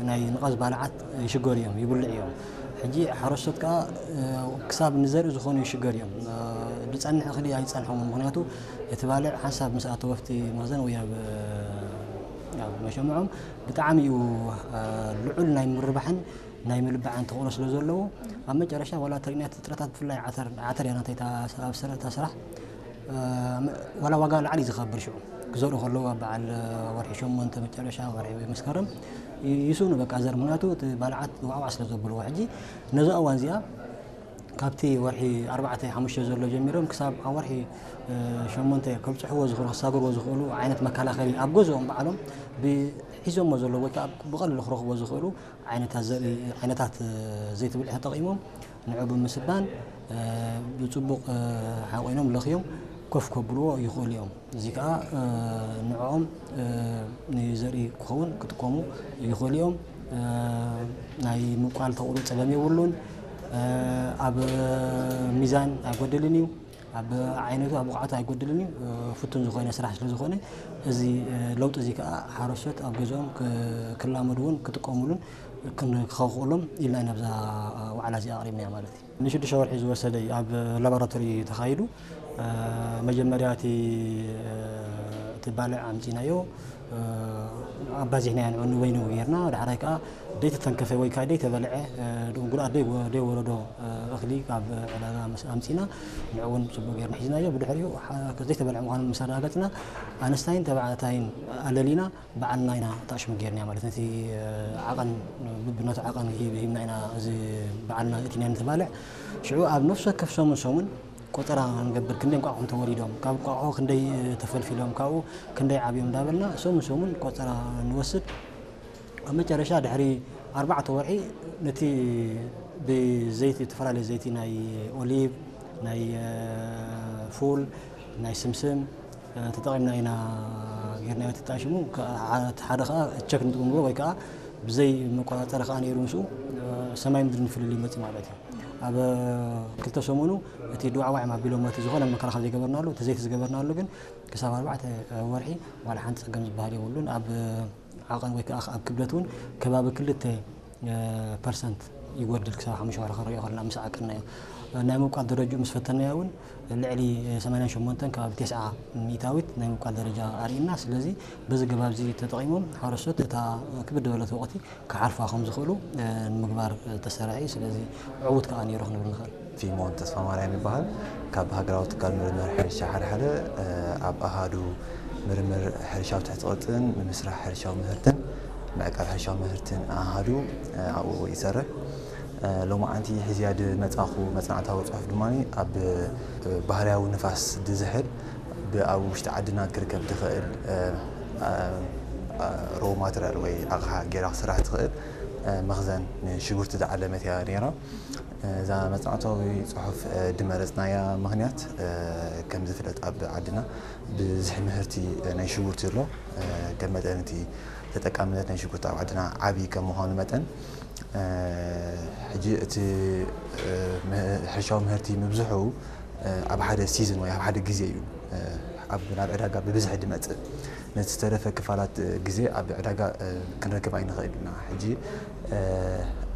ናይ ንቐዝ ባልዓት ይሽገሩ እዮም፣ ይብልዑ እዮም። ሕጂ ሓረስቶት ከኣ ክሳብ ንዘርኢ ዝኾኑ ይሽገሩ እዮም። ዝጸንሕ እኽሊ ኣይጸንሖምን፣ ምኽንያቱ እቲ ባልዕ ሓንሳብ ምስ ኣተወ ኣብቲ መኽዘን ወይ ኣብ መሸምዖም ብጣዕሚ እዩ ልዑል ናይ ምርባሕን ናይ ምልባዕን ተኽእሎ ስለ ዘለዎ፣ ኣብ መጨረሻ ዋላ ተርኢናት እጥረታት ብፍላይ ዓተር እያ ናተይ እታ ስራሕ፣ ዋላ ዋጋ ላዕሊ እዩ ዝኸብር። ሽዑ ክዘርኡ ከለዉ ኣብ በዓል ወርሒ ሸሞንተ መጨረሻ ወርሒ መስከረም ይስእኑ በቃ ዘር፣ ምኽንያቱ እቲ ባልዓት ዋዕዋዕ ስለ ዘብልዎ። ሕጂ ነዚ እዋን እዚኣ ካብቲ ወርሒ ኣርባዕተ ሓሙሽተ ዘሎ ጀሚሮም ክሳብ ኣብ ወርሒ ሸሞንተ ከብፅሕዎ ዝኽእሉ፣ ክሳገርዎ ዝኽእሉ ዓይነት መከላኸሊ ኣብ ገዝኦም ባዕሎም ሒዞሞ ዘለዉ ወይ ከዓ ብቐሊሉ ክረኽብዎ ዝኽእሉ ዓይነታት ዘርኢ፣ ዓይነታት ዘይቲ ብልዒ ተጠቒሞም ንዑ ብምስባን ብፅቡቕ ሓቆይኖም ለኽዮም ኮፍ ከብልዎ ይኽእሉ እዮም። እዚ ከዓ ንዕኦም ንዘርኢ ክኸውን ክጥቀሙ ይኽእሉ እዮም። ናይ ምብቋል ተኽእሎ ፀገም የብሉን። ኣብ ሚዛን ኣይጎድልን እዩ። ኣብ ዓይነቱ ኣብ ብቕዓቱ ኣይጎድልን እዩ። ፍቱን ዝኾነ ስራሕ ስለ ዝኾነ እዚ ለውጢ እዚ ከዓ ሓረስቶት ኣብ ገዝኦም ክላመድዎን ክጥቀሙሉን ክኸኽእሎም ኢልና ኢና ኣብዛ ዋዕላ እዚኣ ኣቕሪብናያ ማለት እዩ። ንሽዱሽተ ወርሒ ዝወሰደ እዩ ኣብ ላቦራቶሪ ተኻይዱ። መጀመርያ እቲ እቲ ባልዕ ኣምፂናዮ ኣባዚሕናዮ ንዑ ንበይኑ ጌርና፣ ዳሕራይ ከዓ ደይተተንከፈ ወይ ከዓ ደይተበልዐ ጉድኣት ደይወረዶ እኽሊ ካብ ዕዳጋ ኣምፂና ንዑ እውን ፅቡቅ ጌርና ሒዝናዮ። ብድሕሪኡ ዘይተበልዐ ምዃኑ ምስ ኣረጋገፅና ኣንስታይን ተባዕታይን ኣለሊና ባዕልና ኢና ተኣሽሙ ጌርና ማለት ነቲ ዓቐን ብብነቱ ዓቐን ሂብና ኢና እዚ ባዕልና እቲና ንተባልዕ። ሽዑ ኣብ ነፍሲ ወከፍ ሰሙን ሰሙን ቆፀራ ንገብር፣ ክንደይ እንቋቑሖ ተወሊዶም፣ ካብ እንቋቑሖ ክንደይ ተፈልፊሎም፣ ካብኡ ክንደይ ዓብዮም እንዳበልና ሰሙን ሰሙን ቆፀራ ንወስድ። ኣብ መጨረሻ ድሕሪ ኣርባዕተ ወርሒ ነቲ ብዘይቲ፣ ዝተፈላለዩ ዘይቲ ናይ ኦሊቭ፣ ናይ ፉል፣ ናይ ስምስም ተጠቒምና ኢና ጌርናዮ። ተጣሽሙ ሓደ ከዓ ቸክ ንጥቅምዎ ወይ ከዓ ብዘይ መቆፃፀሪ ከዓ ነይሩ ምስኡ ሰማይ ምድሪ ንፍልል ይመፅእ ማለት እዩ። ኣብ ክልተ ሰሙኑ እቲ ድዋዕዋዕ ማቢሎም እቲ ዝኾነ መከላኸል ዘይገበርናሉ እቲ ዘይቲ ዝገበርናሉ ግን ክሳብ ኣርባዕተ ወርሒ ዋላ ሓንቲ ፀገም ዝበሃል የብሉን። ኣብ ዓቐን ወይ ከዓ ኣብ ክብደት እውን ከባቢ ክልተ ፐርሰንት ይጎድል ክሳብ ሓሙሽተ ወርሒ ክንሪኦ ከለና ምስ ዓቀንናዮ። ናይ ምብቃል ደረጅኡ ምስ ፈተናዮ እውን ልዕሊ ሰማንያን ሸሞንተን ከባቢ ተስዓ ሚእታዊት ናይ ምብቃል ደረጃ ኣርእና። ስለዚ በዚ ገባብ እዚ ተጠቒሞም ሓረስቶት እታ ክብድ ዝበለት ወቕቲ ክሓልፋ ከም ዝኽእሉ ንምግባር ተሰሪሑ እዩ። ስለዚ ዕዉት ከዓ ነይሩ ክንብል ንኽእል። ፊሞን ተስፋማርያም ይበሃል። ካብ ሃገራዊ ትካል ምርምር ሕርሻ ሓደ ሓደ ኣብ ኣሃዱ ምርምር ሕርሻዊ ትሕቲ ቅርጽን ምምስራሕ ሕርሻዊ ምህርትን ምዕቃብ ሕርሻዊ ምህርትን ኣሃዱ ኣብኡ ይሰርሕ። ሎማዓንቲ ሒዝያ ድመጻኹ መጽናዕታዊ ጽሑፍ ድማ ኣብ ባህርያዊ ንፋስ ድዝሕል ብኣብ ውሽጢ ዓድና ክርከብ ትኽእል ሮ ማተርያል ወይ ኣቕሓ ጌራ ክስራሕ ትኽእል መኽዘን ንሽጉርቲ ዝዓለመት እያ ነይራ። እዛ መጽናዕታዊ ጽሑፍ ድመረጽናያ ምኽንያት ከም ዝፍለጥ ኣብ ዓድና ብዝሒ ምህርቲ ናይ ሽጉርቲ ኣሎ። ከም መጠን እቲ ተጠቃምነት ናይ ሽጉርቲ ኣብ ዓድና ዓቢ ከም ምዃኑ መጠን ሕጂ እቲ ሕርሻዊ ምህርቲ ምብዝሑ ኣብ ሓደ ሲዝን ወይ ኣብ ሓደ ግዜ እዩ ኣብ ናብ ዕዳጋ ብብዝሒ ድመጽእ። ነቲ ዝተረፈ ክፋላት ግዜ ኣብ ዕዳጋ ክንረክብ ኣይንኽእል ኢና። ሕጂ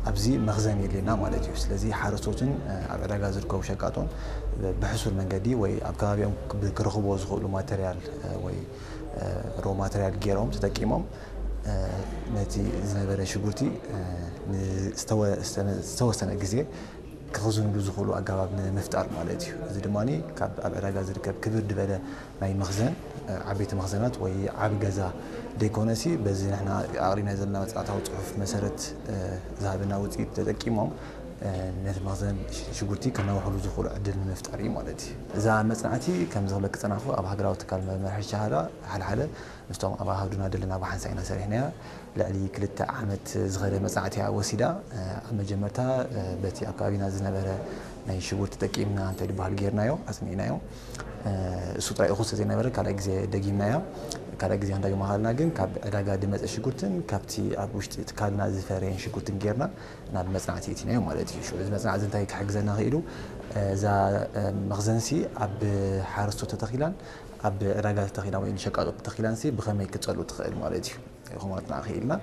ኣብዚ መኽዘን የድልየና ማለት እዩ። ስለዚ ሓረስቶትን ኣብ ዕዳጋ ዝርከቡ ሸቃጦን ብሕሱር መንገዲ ወይ ኣብ ከባቢኦም ክረኽብዎ ዝኽእሉ ማተርያል ወይ ሮ ማተርያል ገይሮም ተጠቂሞም ነቲ ዝነበረ ሽጉርቲ ዝተወሰነ ግዜ ክኽዝንሉ ዝኽእሉ ኣገባብ ንምፍጣር ማለት እዩ። እዚ ድማ ካብ ኣብ ዕዳጋ ዝርከብ ክብር ዝበለ ናይ መኽዘን ዓበይቲ መኽዘናት ወይ ዓቢ ገዛ ደይኮነሲ በዚ ንሕና ኣቕሪብና ዘለና መጽናዕታዊ ጽሑፍ መሰረት ዝሃበና ውፅኢት ተጠቂሞም ነቲ መኽዘን ሽጉርቲ ከናውሕሉ ዝኽእሉ ዕድል ንምፍጣር እዩ ማለት እዩ። እዛ መጽናዕቲ ከም ዝኽለክ ዝጸናኹ ኣብ ሃገራዊ ትካል መመርሒ ሸሃዳ ሓደ ሓደ ምስቶም ኣብ ኣሃዱና ዘለና ብሓንሳእ ኢና ሰሪሕናያ። ልዕሊ ክልተ ዓመት ዝኸደ መጽናዕቲ እያ ወሲዳ። ኣብ መጀመርታ በቲ ኣብ ከባቢና ዝነበረ ናይ ሽጉርቲ ተጠቂምና እንታይ ዝበሃል ጌርናዮ፣ ኣጽኒዕናዮ። እሱ ጥራይ እኹል ዘይነበረ ካልኣይ ግዜ ደጊምናዮ። ካልኣይ ግዜ ክንደግማ ከለና ግን ካብ ዕዳጋ ዝመጸ ሽጉርትን ካብቲ ኣብ ውሽጢ ትካልና ዝፈረየን ሽጉርትን ጌርና ናብ መጽናዕቲ እቲናዮ ማለት እዩ። ሽዑ እዚ መጽናዕቲ እንታይ ክሕግዘና ክኢሉ፣ እዛ መኽዘንሲ ኣብ ሓረስቶት ተተኺላን ኣብ ዕዳጋ ተተኺላን ወይ ንሸቃጦ ተተኺላንሲ ብኸመይ ክጸሉ ትኽእል ማለት እዩ። ይኹን ማለት ንዓ ክኢልና